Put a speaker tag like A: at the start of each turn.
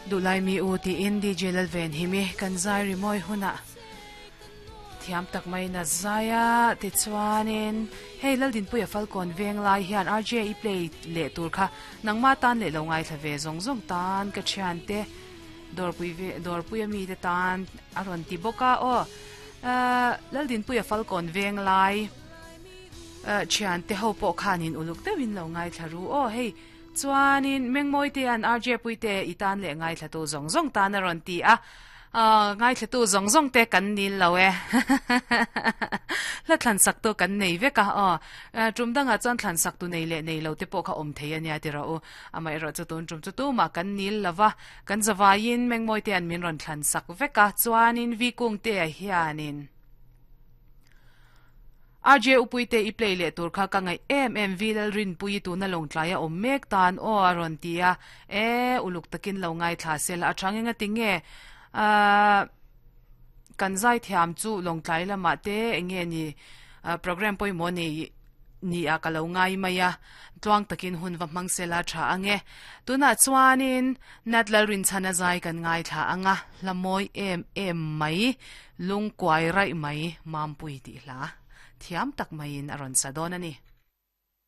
A: Duhlai mi u tiin DJ Lalvenhimi kan zai rimawi hunah thiam tak maiin a zai a, tichuanin hei Laldinpuia Falkawn veng lai hian RJ i play leh tur kha nangma tan leh lo ngaithla ve zawng zawng tan ka thiante dawrpui ve dawrpuia mite tan a rawn ti bawk a aw Laldinpuia Falkawn veng lai thiante ho pawh khanin uluk deuhin lo ngaithla ru aw hei Chuanin Mengmawitea'n RJ Puite i tan leh ngaithlatu zawng zawng tan a rawn ti a, ngaithlatu zawng zawng te kan nil lo e. Hla thlan saktu kan nei vek a, aw. Tum dangah chuan thlan saktu nei leh nei lo te pawh kha awm thei a nia ti rawh u. Amaherawh chu tun tum chu tumah kan nil lo va, kan zavaiin Mengmawitea'n min rawn thlan sak vek a, chuanin Vikungtea hianin. RJ Upuite i play leh tur kha ka ngaih em em vi Lalrinpuii tuna lawngtlai a awm mek tan aw a rawn ti a, e uluk takin lo ngaithla sela a tha nge tinge ahh kan zaithiam chu lawngtlai lamah te enge ni program pawimawh nei ni ah ka lo ngai mai a, tluang takin hun va hmang sela tha ange. Tunah chuanin Nat Lalrinchhana zai kan ngaithla anga hla mawi em em mai. Lungkuai raih mai Mampui tih hla thiam tak maiin a rawn sa dawn a ni.